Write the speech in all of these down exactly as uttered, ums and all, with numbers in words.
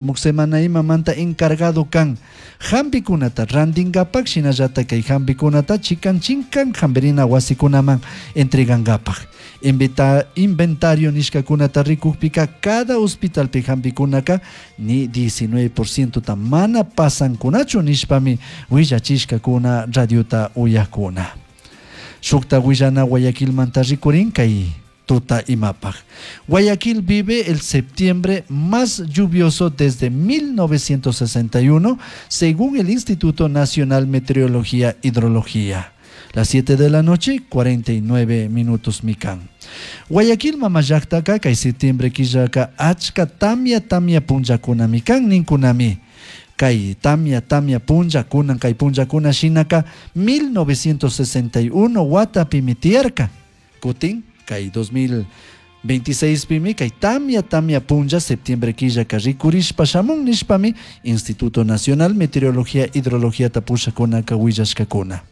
Semana imamanta encargado kan hampikunata rantinkapak, shinallata kay hampikunata chikan chinkan hampirina wasikunaman entregankapak. Invita, inventario nishkakunata rikukpika cada hospitalpi hampikunaka ni diecinueve por ciento ta mana pasankunachu nishpami willachishkakuna radiota uyakuna. Shukta willana Guayaquilmanta rikurin kay tuta imapaj. Guayaquil vive el septiembre más lluvioso desde mil novecientos sesenta y uno, según el Instituto Nacional Meteorología e Hidrología. Las siete de la noche, cuarenta y nueve minutos mikan. Guayaquil mamallaktaka kay septiembre killaka achka tamia tamia punllakunami kan ninkunami. Kay tamia tamia punlla kunan kay punllakuna shinaka mil novecientos sesenta y uno watapimi tiyarka. Kutin kay dos mil veintiséis pimi kay tamia tamia punlla septiembre killaka rikurishpa shamun nishpami Instituto Nacional Meteorología e Hidrología tapushakunaka willashkakuna.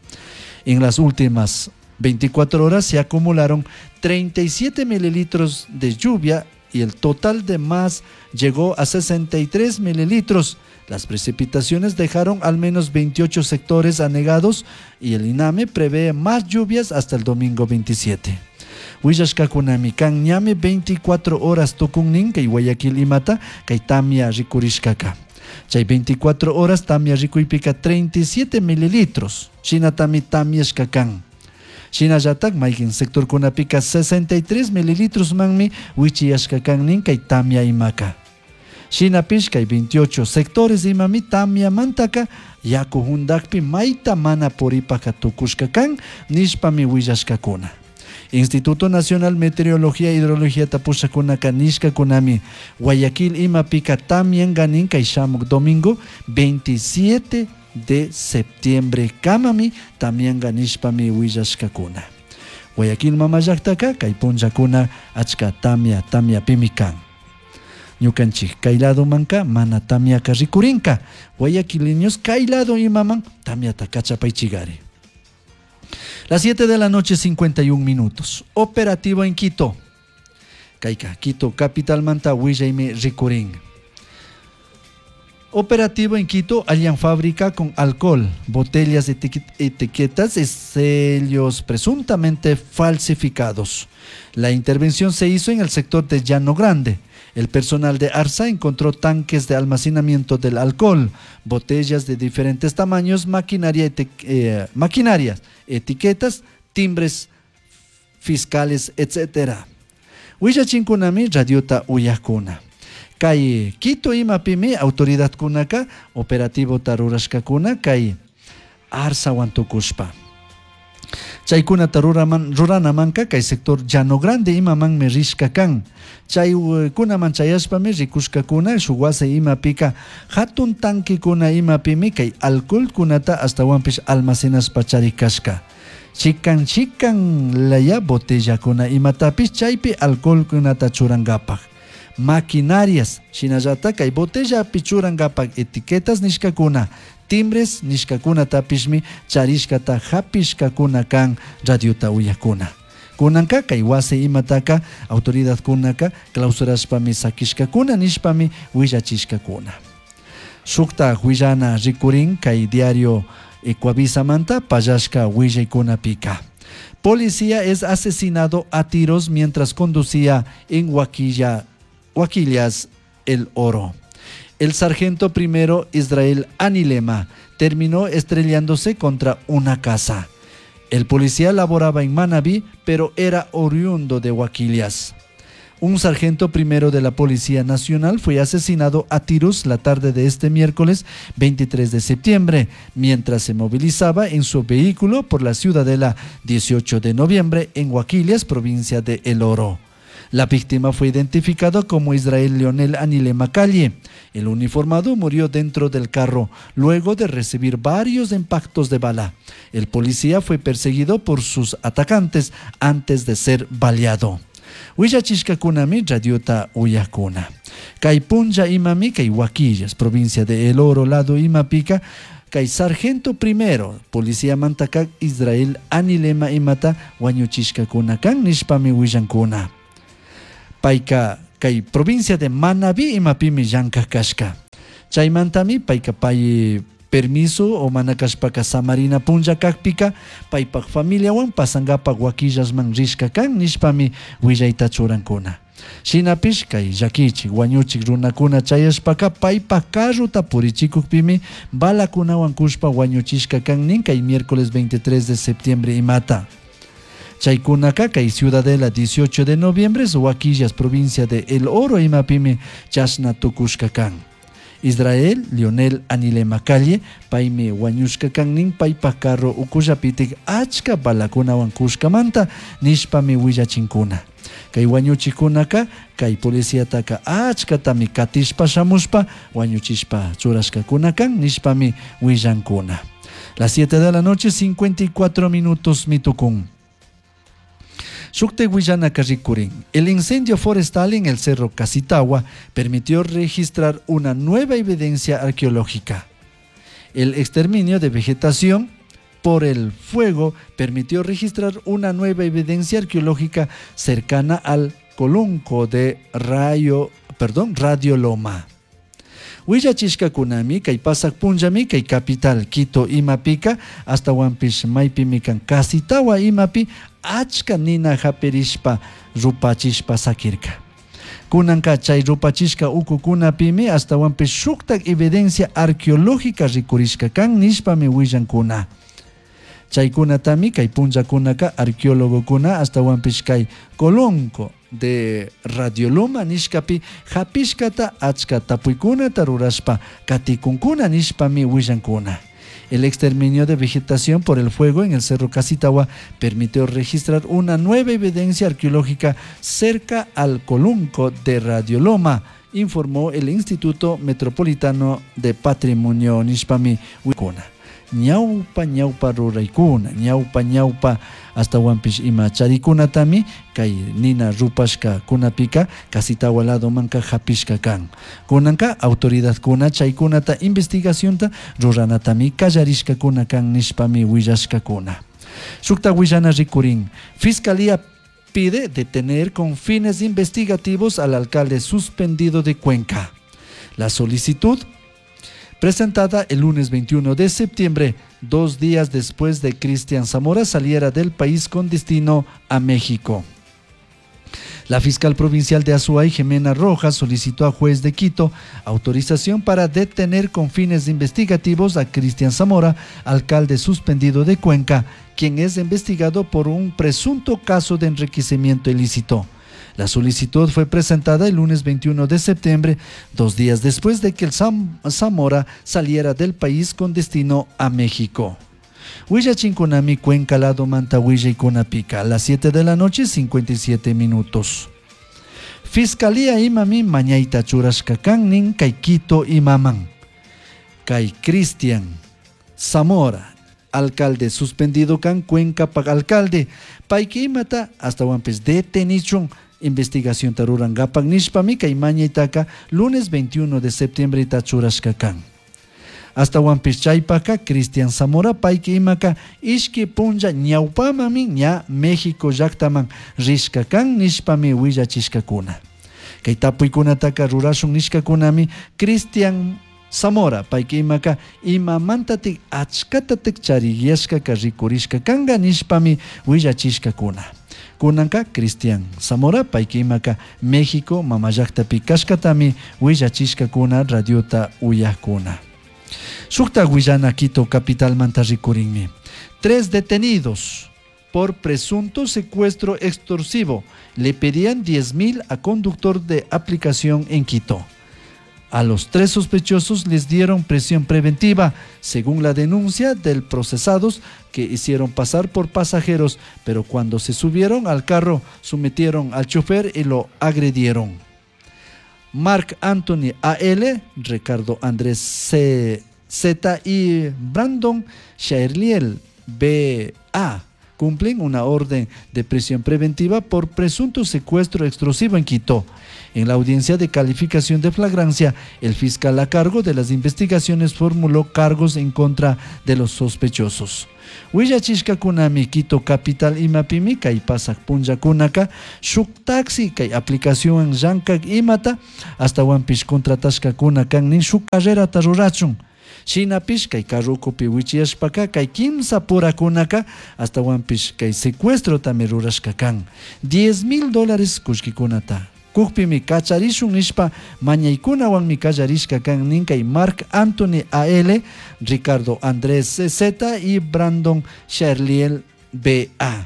En las últimas veinticuatro horas se acumularon treinta y siete mililitros de lluvia y el total de más llegó a sesenta y tres mililitros. Las precipitaciones dejaron al menos veintiocho sectores anegados y el INAME prevé más lluvias hasta el domingo veintisiete. Willashkakunami kan ñami veinticuatro horas tukunnin kay Guayaquil imata kay tamia rikurishkaka. Chay veinticuatro horas tamia rikuypika treinta y siete mililitros. Shinatami tamiashka kan. Shinallatak mayqin sectorkunapika sesenta y tres mililitros manmi wichiyashka kan nin kay tamia imaka. Shinapish kay veintiocho sectores imami tamiamantaka yaku hundakpi mayta mana puripaka tukushka kan nishpami willashkakuna. Instituto Nacional Meteorología e Hidrología tapushakunaka nishkakunami Guayaquil imapika tamyanka kay shamuk domingo veintisiete de septiembre kamami tamyanka nishpami willashkakuna. Guayaquil mamallaktaka kay punllakuna achka tamia tamiapimi kan. Ñukanchik kay ladomanka mana tamiaka rikurinka. Guayaquileños, kay lado imaman tamiata kachapaychigari. Las siete de la noche, cincuenta y un minutos. Operativo en Quito. Kayka, Quito, capital manta willaymi rikurin. Operativo en Quito, hallan fábrica con alcohol, botellas, etiquetas y sellos presuntamente falsificados. La intervención se hizo en el sector de Llano Grande. El personal de ARSA encontró tanques de almacenamiento del alcohol, botellas de diferentes tamaños, maquinaria, eh, maquinarias, etiquetas, timbres fiscales, etcétera. Willachinkunami radiota uyakuna. Kay Quito imapimi autoridadkunaka operativo rurashkakuna kay ARSAwan tukushpa. Chaykunata ruraman, ruranamanka kay sector Llano Grande imamanmi rishka kan. Chaykunaman chayashpami rikushkakuna shuk wasi imapika hatun tankikuna imapimi kay alcoholkunata ashtawanpish almacenashpa charikashka. Chikan chikan laya botellakuna imatapish chaypi alcoholkunata churankapak. Maquinarias, shinallata kay botellapi churankapak etiquetas nishkakuna, timbres nishkakunatapishmi charishkata hapishkakuna kan radiota uyakuna. Kunanka kay wasi imataka autoridadkunaka clausurashpami sakishkakuna nishpami willachishkakuna. Shukta willana rikurin kay diario Ecuavisamanta pallashka willaykunapika. Policía es asesinado a tiros mientras conducía en Huaquilla, Huaquillas, El Oro. El sargento primero Israel Anilema terminó estrellándose contra una casa. El policía laboraba en Manabí, pero era oriundo de Huaquillas. Un sargento primero de la Policía Nacional fue asesinado a tiros la tarde de este miércoles veintitrés de septiembre, mientras se movilizaba en su vehículo por la ciudadela dieciocho de noviembre en Huaquillas, provincia de El Oro. La víctima fue identificada como Israel Leonel Anilema Calle. El uniformado murió dentro del carro luego de recibir varios impactos de bala. El policía fue perseguido por sus atacantes antes de ser baleado. Willachishkakunami radiota uyakuna. Kay punlla imami kay Huaquillas, provincia de El Oro, lado imapika, kay sargento primero, policía mantaka Israel Anilema imata wañuchishkakuna kan nishpami willankuna. Payka kay provincia de Manabí imapimi llankak kashka. Chaymantami payka pay permiso o mana kashpaka samarina punlla kakpika paypak familiawan pasankapak Huaquillasman rishka kan nishpami willayta churankuna. Shinapish kay llakichik wañuchik runakuna chayashpaka paypak carrota purichikukpimi balakunawan kushpa wañuchishka kan nin kay miércoles veintitrés de septiembre imata. Chaykunaka kay Ciudadela dieciocho de noviembre Huaquillas provincia de El Oro imapimi chashna tukushka kan. Israel Lionel Anilema Calle paymi wañushka kan nin paypak carro ukullapitik achka balakunawan kushkamanta nishpami willachinkuna. Kay wañuchikunaka kay policiataka achkatami katishpa shamushpa wañuchishpa churashkakuna kan nishpami willankuna. Las siete de la noche cincuenta y cuatro minutos mitukun. Shukte willanaka rikurin. El incendio forestal en el Cerro Casitagua permitió registrar una nueva evidencia arqueológica. El exterminio de vegetación por el fuego permitió registrar una nueva evidencia arqueológica cercana al Colunco de Rayo, perdón, Radio Loma. Willachishkakunami kay pasak punllami kay capital Quito imapika hasta Huampish maypimi kan Casitagua imapi achka nina hapirishpa rupachishpa sakirka. Kunanka chay rupachishka ukukunapimi hasta Huampish shuktak evidencia arqueológica rikurishka kan nishpami willankuna. Chaykunatami kay punllakunaka arqueólogokuna hasta Huampish kay Colonco de Radio Loma nishkapi hapishkata achka tapuykunata rurashpa katikunkuna nishpami willankuna. El exterminio de vegetación por el fuego en el Cerro Casitagua permitió registrar una nueva evidencia arqueológica cerca al Colunco de Radio Loma, informó el Instituto Metropolitano de Patrimonio nishpami willankuna. Ñaupa ñaupa ruraykuna, ñaupa ñaupa hasta Huampish ima charikunatami kay nina rupashka kunapika Casitagua lado manka hapishka kan. Kunanka autoridadkuna chaykunata investigacionta ruranatami kallarishkakuna kan nishpami willashkakuna. Shukta willana rikurin. Fiscalía pide detener con fines investigativos al alcalde suspendido de Cuenca. La solicitud presentada el lunes veintiuno de septiembre, dos días después de Cristian Zamora saliera del país con destino a México. La fiscal provincial de Azuay, Jimena Rojas, solicitó a juez de Quito autorización para detener con fines investigativos a Cristian Zamora, alcalde suspendido de Cuenca, quien es investigado por un presunto caso de enriquecimiento ilícito. La solicitud fue presentada el lunes veintiuno de septiembre, dos días después de que el Zam-, Zamora saliera del país con destino a México. Huillachinkunami, Cuenca, Lado, Manta, Huilla y Cunapica, a las siete de la noche, cincuenta y siete minutos. Fiscalía imami mañaita churashkakannin kay Quito imaman. Kay Cristian Zamora, alcalde suspendido kan Cuenca pag alcalde. Payki imata hasta wampes detenichun investigación tarurangapak nishpami kay mañaitaka lunes veintiuno de septiembre tachurashkakan. Hasta wampis chaypaka Cristian Zamora payki imaka ishki punlla ñawpamami ña México llaktaman rishkakan nishpami willachishkakuna. Kay tapuykunataka rurashun nishkakunami Cristian Zamora payki imaka imamantatik achkatatik chariyashkaka rikurishkakanga nishpami willachishkakuna. Kunanka Cristian Zamora payki imaka México mamallaktapi kashkatami willachishkakuna radiota uyakuna. Shukta willana Quito capital manta rikurinmi. Tres detenidos por presunto secuestro extorsivo le pedían diez mil a conductor de aplicación en Quito. A los tres sospechosos les dieron prisión preventiva, según la denuncia del procesados que hicieron pasar por pasajeros, pero cuando se subieron al carro, sometieron al chofer y lo agredieron. Mark Anthony A L, Ricardo Andrés C. Z y Brandon Shaerliel B A Cumplen una orden de prisión preventiva por presunto secuestro extorsivo en Quito. En la audiencia de calificación de flagrancia, el fiscal a cargo de las investigaciones formuló cargos en contra de los sospechosos. Willachishkakunami Quito capital imapimi kay pasak punllakunaka shuk taxi kay aplicación llankak imata ashtawanpish contratashkakuna kan nin shuk carrerata rurachun. Shinapish kay carro ukupi wichiyashpaka kay kimsa purakunaka ashtawanpish kay secuestrotami rurashka kan. diez mil dólares kullkikunata kukpimi kacharishun nishpa mañaykunawanmi kallarishka kan nin kay Mark Anthony A L, Ricardo Andrés Z y Brandon Charliel B A.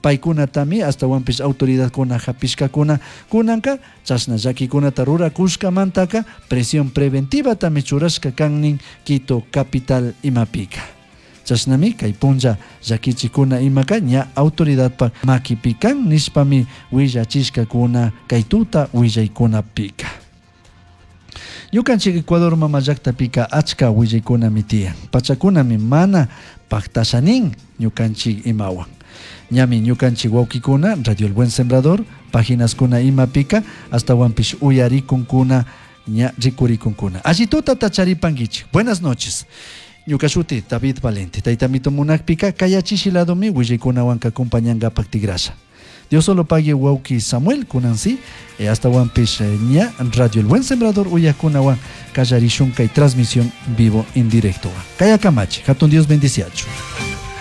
Paykunatami ashtawanpish autoridadkuna hapishkakuna kunanka chashna llakikunata rurakushkamantaka presión preventivatami churashka kan nin Quito capital imapika. Chashnami kay punlla llakichikuna imaka ña autoridadpa makipi kan nishpami willachishkakuna kay tuta willaykunapika. Ñukanchik Ecuador mama llaktapika achka willaykunami tiyan. Pachakunami mana paktashanin ñukanchik imawan. Ñami ñukanchik wawkikuna Radio El Buen Sembrador páginaskuna imapika ashtawanpish uyarikunkuna ña rikurikunkuna. Alli tutata charipankichik. Buenas noches. Ñuka shuti David Valente. Taytamito munakpika kayachishi ladomi willaykunawanka acompañankapak tigrasha. Dios solo pague wawki Samuel kunansi, eh, ashtawanpish, eh, ña Radio El Buen Sembrador uyakunawan kallarishun kay transmisión vivo en directo. Kayakamachi, hatun Dios bendiciachu.